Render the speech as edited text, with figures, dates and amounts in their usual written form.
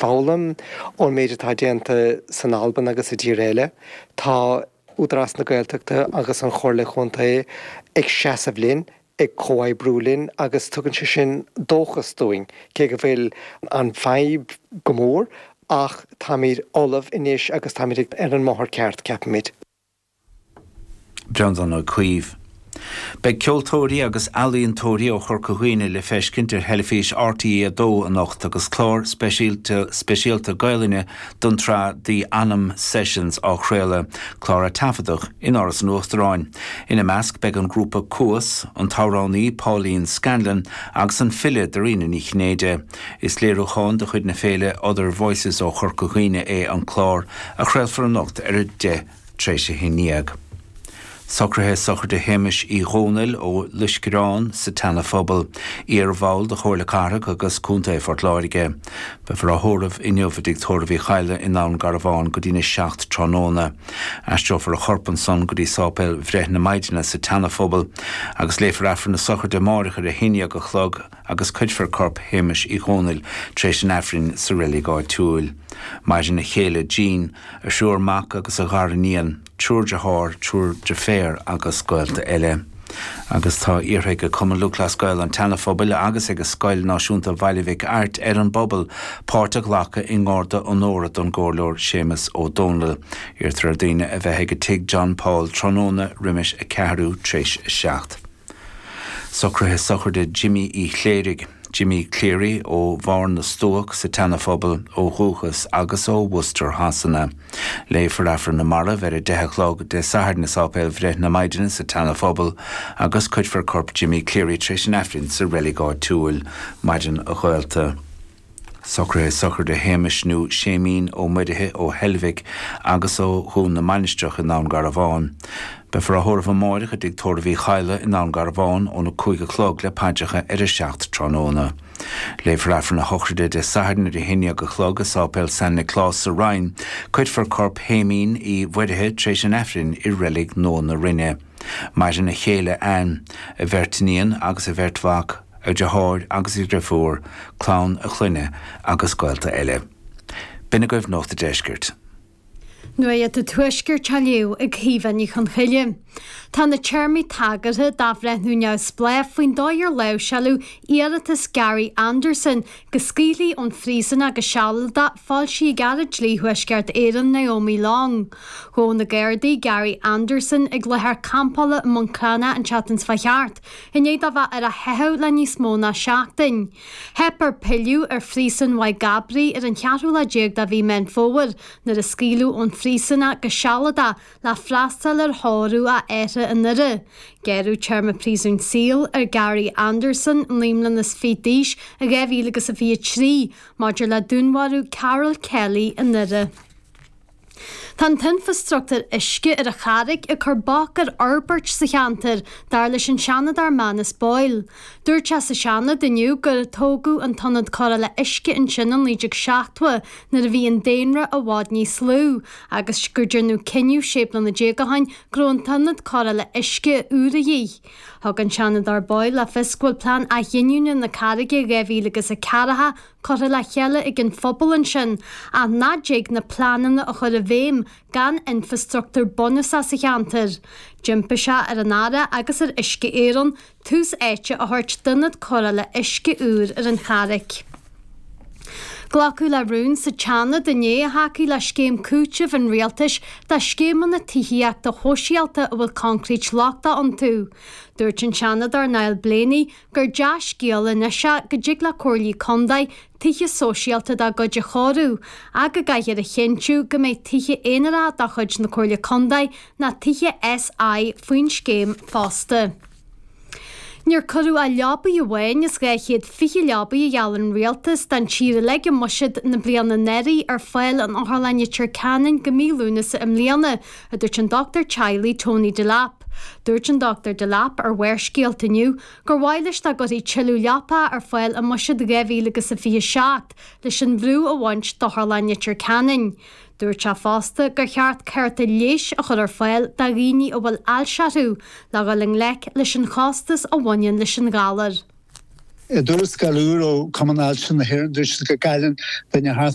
foghlaim ón méid atá déanta san Albain agus i dtíortha eile. Tá Údarás na Gaeltachta agus an Chomhairle Chontae ag seasamh linn, ag comhoibriú linn agus tugann sé sin dóchas dúinn, cé go bhfuil an fadhb go mór ach táimid ullamh anois agus táimid ar an mbóthar ceart, ceapaimid. Breandán Ó Caoimh. Beidh ceoltóirí agus ealaíontóirí ó Chorca Dhuibhne le feiscint ar theilifís RTÉ 2 anocht agus clár speisialta Gaelainne don tsraith The Anam Sessions á chraoladh, clár a taifeadadh in Áras an Uachtaráin. Ina measc beidh an grúpa Cuas, an t-amhránaí Pauline Scanlon agus an file Dairena Ní Chinnéide. Is léiriúchán de chuid na féile Other Voices ó Chorca Dhuibhne é an clár, a chraolfar anocht ar 10 tar éis 11. Socruithe sochraide Shéamais Uí Dhónaill ó Loiscreán sa tSeana Phobal, iar-bhall de Chomhairle Cathrach agus Contae Phort Láirge. Beifear á thórramh inniu i dTigh Tórraimh Uí Chadhla i nDún Garbhán go dtína 7 tráthnóna. Aistreofar a chorp ansan go dtí Sáipéal Bhreith na Maighdine sa tSeana Phobal agus léifear Aifreann na sochraide amáireach ar a 11 a chlog agus cuirfear corp Shéamais Uí Dhónaill tar éis an Aifrinn sa reilig áitiúil. Maireann a chéile Jean, a thriúr mac agus a ghariníon, triúr dearthár, triúr deirféar agus gaolta eile. Agus tá iarrtha ag Cumann Lúthchleas Gael an tSeana-Phobail agus ag Scoil Náisiúnta Bhaile Mhic Airt ar an bpobal páirt a ghlacadh i nGarda Onóra don gComhairleoir Séamus Ó Dónaill. Iarrtar ar daoine a bheith ag Tigh John Paul tráthnóna roimis a ceathrú tréis a 7. Socruithe sochraide Jimí Uí Chléirigh, Jimmy Cleary, ó Bharr na Stuac sa tSeana-Phobal ó dhúchas agus ó Worcester Shasana. Léifear Aifreann na Marbh ar 10 a chlog Dé Sathairn i Sáipéal Bhreith na Maighdine sa tSeana-Phobal agus cuirfear corp Jimmy Cleary tar éis an Aifrinn sa reilig áitiúil. Maireann a ghaolta. Socruithe sochraide Shéamais nó Séimín Ó Muirithe ó Heilbhic agus ó Dhún na Mainistreach i nDún Garbhán. Beifear á thórramh amáireach i dTigh Tórraimh Uí Chadhla i nDún Garbhán óna 5 a chlog le paidreacha ar a 7 tráthnóna. Léifear Aifreann na sochraide Dé Sathairn ar a 11 a chlog i Sáipéal San Nioclás sa Rinn. Cuirfear corp Shéimín Uí Mhuirithe tar éis an Aifrinn i Reilig Nua na Rinne. Maireann a chéile Ann, a bheirt iníon agus a bheirt mhac, a dheartháir agus a dhriofúr, clann a chlainne agus gaolta eile. B'in agaibh Nuacht a' Deiscirt. Nuacht an Tuaiscirt á léamh ag Caoimhe Ní Chonchoille. Tá na téarmaí tagartha d'athbhreithniú neamhspleách faoin dóigh ar láimhseáladh iarratas Gary Anderson go scaoilfí ón phríosún go sealadach foilsithe ag Aire Dlí Thuaisceart Éireann Naomi Long. Ghabh na Gardaí Gary Anderson ag láthair campála i mBun Cranncha an tseachtain seo thart I ndiaidh dó bheith ar a theitheadh le níos mó ná seachtain. Theip air pilleadh ar phríosún Mhaigh gCabraí ar an cheathrú lá déag de mhí Meán Fómhair nuair a scaoileadh ón phríosún é go sealadach le freastal ar thórramh a athar i nDoire. Gearradh téarma príosúin saoil ar Gary Anderson, 29 mbliana d'aois, i 2023 maidir le dúnmharú Carol Kelly i nDoire. Tá an t-infreastruchtúr uisce ar an Charraig ag cur bac ar fhorbairt sa cheantar, dar leis an Seanadóir Manus Boyle. Dúirt sé sa Seanad inniu gur tógadh an t-ionad cóireála uisce ansin in 1970 nuair a bhí an daonra i bhfad níos lú agus gur déanadh cinneadh 16 bliana ó shin go raibh an t-ionad cóireála uisce úr a dhíth. Thug an Seanadóir Boyle le fios go bhfuil Plean Athghiniúna na Carraige 2040 curtha le chéile ag an phobal ansin ach nach dtig na pleananna a chur i bhfeidhm gan infreastruchtúr bunúsach sa cheantar. D'impigh sé ar an Aire agus ar Uisce Éireann tús áite a thabhairt d'ionad cóireála uisce úr ar an Charraic. Glacadh le rún sa tSeanad inné a thacaigh le scéim cúitimh an rialtais do scéimeanna tithíochta shóisialta a bhfuil concrete lochtach iontu. Dúirt an Seanadóir Niall Blaney gur dea-scéal anois é go dtig le comhairlí contae tithe sóisialta dá gcuid a chóiriú ach go gcaithfear a chinntiú go mbeidh tithe aonaracha de chuid na Comhairle Contae ná tithe SI faoin scéim fosta. Níor cuireadh ach leabaidh amháin as 220 leabaidh a gheall an Rialtas don tír uilig i mbuiséad na bliana anuraidh ar fáil in Otharlann Leitir Ceanainn go mí Lúnasa i mbliana, a dúirt an dochtúir teaghlaigh Tony Delap. Dúirt an Dr Delap ar Bharrscéalta inniu gur mhaith leis dá gcuirfí tuilleadh leapacha ar fáil i mBuiséad 2027 leis an bhrú a bhaint d'Otharlann Leitir Ceanainn. Dúirt sé fosta gur cheart cárta leighis a chur ar fáil do dhaoine a bhfuil ailse orthu le dhul i ngleic leis an chostas a bhaineann leis an ghalar. I dtuarascáil úr ó Chumann Ailse na hÉireann, dúirt siad go gcailleann duine thart.